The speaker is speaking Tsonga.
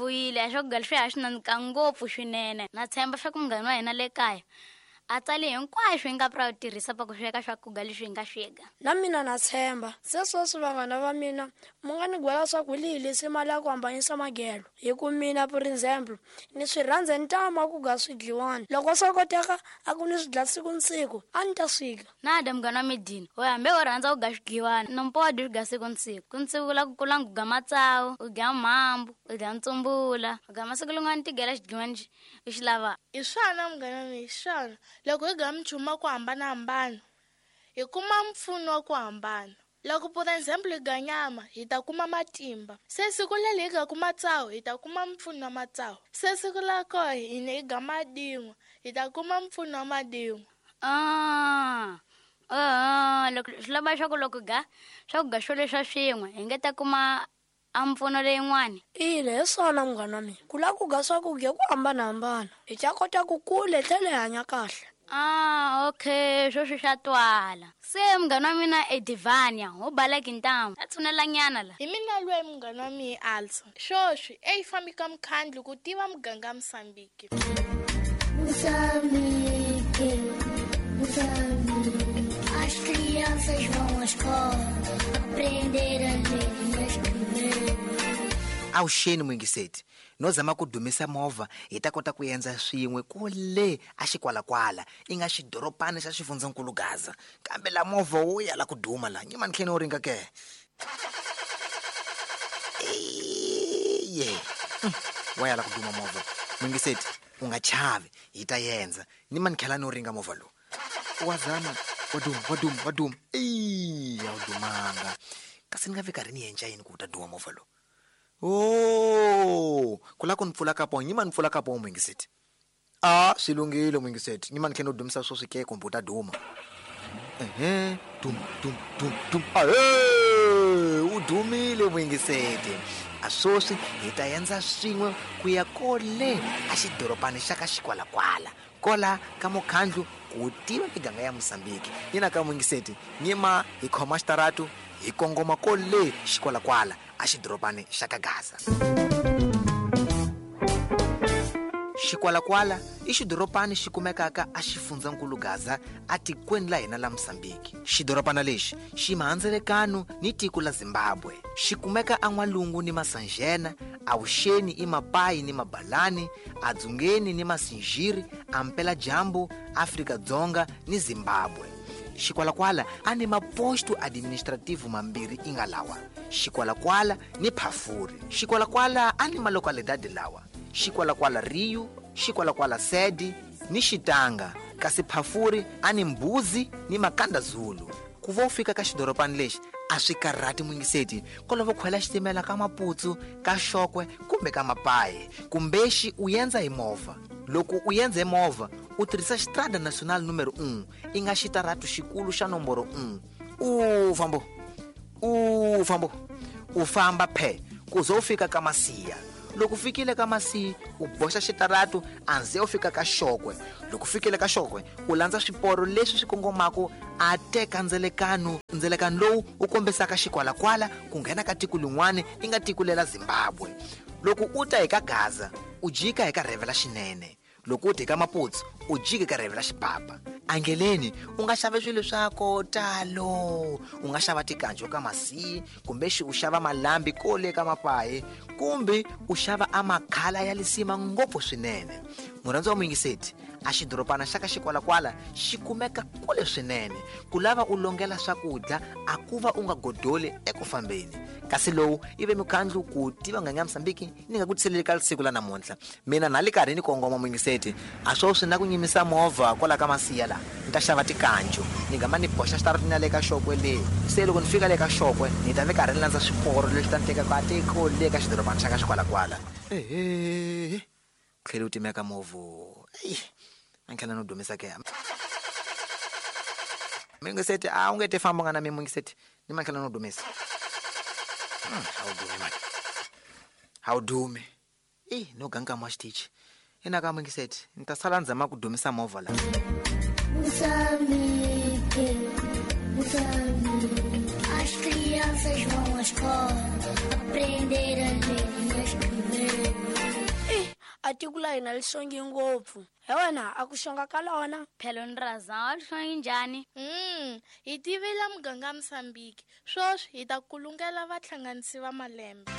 vuyile a swakudya leswi a swi nandzika ngopfu swinene. Na tshemba swa ku munghana wa hina le kaya a tsale hinkwaswo hi nga pra tirhisa pa ku sweka swakudya leswi hi nga sweka. Na mina na tshemba. Se sweswi vanghana va mina mu nga ni gwela swa ku lihi lisima la ku hambanyisa magelo. Hi ku mina for example ni swi rhandza ntama ku ga swidliwani. Loko swo koteka a ku ni swi dla siku ni siku a ni ta swika. Na da munghana wa medini we hambi u rhandza ku ga swidliwani nompo wa dyi swi ga siku ni siku. Ku ni siku la ku kula ku ga matsawu, u dya mhambu, u dya ntsumbula, u ga masiku lin'wana ti gela xidliwani u xi lava. Hi swona munghana wa mina, hi swona. Loko hi ga minchumu ya ku hambanahambana hi kuma mpfuno wa ku hambana. Loko for example hi ga nyama hi ta kuma matimba. Se siku leri hi gaku matsawu hi ta kuma mpfuno wa matsawu. Se siku la koho hina hi ga madin'wa hi ta kuma mpfuno wa madin'wa. Loko swi lava swa ku loko ga swakudya swo leswa swin'we hi nga ta kuma a mpfuno leyin'wani. Ina, hi swona munghana wa mina. Ku lava ku ga swakudya ku hambanahambana hi ta kota ku kula hi tlhela hi hanya kahle. Okay, sweswi swa twala. Se munghana wa mina Edivania ho baleki ntamu a tshunelanyana la. Hi mina lweyi munghana wa mina Alsa. Sweswi eyi fambi ka mukhandlu ku tiva muganga Mosambiki. Moçambique, Moçambique, as crianças vão à escola aprender a ler e a escrever. Awuxeni muyingiseti no zama ku dumisa movha hi ta kota ku endza swin'we kule a xikwalakwala i nga xidorobana xa xifundzankulu Gaza. Kambe la movha wo ya la ku duma la nyima ni tlhela u ringa ke. Ye wa ya la ku duma movha. Muyingiseti u nga chavi hi ta endza ni ma ni tlhela no ringa movha lowu. Wa zama wa duma wa duma wa duma. Eya wu dumanga. Kasi ni nga vi karhi ni endla yini ku wu ta duma movha lowu? Oh, ku la ku ni pfula ka po nyima ni pfula ka po muyingiseti. A swi lunghile muyingiseti nyima ni tlhela no dumisa swo swi ke kumbe u ta duma. Ehe, dum dum dum dum. Ahe, u dumile muyingiseti. A sweswi hi ta endza swin'we ku ya kole a xidorobani xa ka xikwalakwala kola ka mukhandlu ku tiva miganga ya Mosambiki. Yina ka muyingiseti nyima hi khoma xitaratu hi kongoma kole xikwalakwala a xidorobani xa ka Gaza. Xikwalakwala i xidorobani xi kumekaka a xifundzankulu Gaza a tikweni la hina la Mosambiki. Xidorobana lexi xi mahandzelekano ni tiko la Zimbabwe. Xi kumeka a n'walungu ni Masanjena, a vuxeni i Mapayi ni Mabalani, a dzungeni ni Masinjiri, a mpela-dyambu Afrika Dzonga ni Zimbabwe. Xikwalakwala a ni maposto administrativo mambirhi i nga lawa: Xikwalakwala ni Phafuri. Xikwalakwala a ni malokalidadi lawa: Xikwalakwala Rio, Xikwalakwala Sede ni Xitanga, kasi Phafuri a ni Mbuzi ni Makanda Zulu. Ku va u fika ka xidorobani lexi a swi karhati muyingiseti kolova khwela xitimela ka Maputsu, ka Xokwe kumbe ka Mapayi, kumbexi u endza hi movha. Loko u endza hi movha u tirhisa Xitrada Nacional numero 1 i nga xitaratu xikulu xa nomboro 1. U fambo u fambo u famba phe ku ze u fika ka Masiya. Loko u fikile ka Masiya u boxa xitaratu anze u fika ka Xokwe. Loko u fikile ka Xokwe u landza swiporo leswi swi kongomaka a teka ndzelekano, ndzelekano lowu wu kombisaka xikwalakwala ku nghena ka tiko lin'wana i nga tiko lela Zimbabwe. Loko u ta hi ka Gaza u jika hi ka rhevela xinene. Loko u ta hi ka Maputsu u jika ka rhevela xipapa. Angeleni u nga xava swilo swa ko talo. U nga xava tikanjo ka Masiyi, kumbe xi u xava malambi kole ka Mapayi, kumbe u xava a makhala ya lisima ngopfu swinene. Murhandzi wa muyingiseti, a xidorobana xa ka xikwalakwala xi kumeka kule swinene. Ku lava u longela swakudya a ku va u nga godoli eku fambeni. Kasi lowu i ve mukhandlu ku tiva nganga ya Mosambiki ni nga ku tiseleli ka siku la namuntlha. Mina na le karhi ni kongoma muyingiseti, a swo swi na ku nyimisa movha kwala ka Masiya la ni ta xava tikanjo ni gama ni boxa xitaratini ya le ka Xokwe le. Se loko ni fika le ka Xokwe ni ta ve karhi ni landza swiporo leswi ta ni tekaka a tiko le ka xidorobana xa ka xikwalakwala. Ehe, tlhela u timeka movha. Eyi, a ni tlhela no dumisa ke. Muyingiseti a wu nge te famba u nga na mi muyingiseti ni ma tlhela no dumisa. A wu dumi mani, a wu dumi. Eyi, no ganga wa xitichi. Ina ka muyingiseti ni ta sala ndzama ku dumisa movha la. Moçambique, Moçambique, as crianças vão à escola aprender a ler e a escrever. A tiko la hina li xonge ngopfu. He wena a ku xonga ka lona. Phelo ni razama li xonge njhani? Hi tivile muganga Mosambiki. Swoswi hi ta kulungela vahlanganisi va malembe.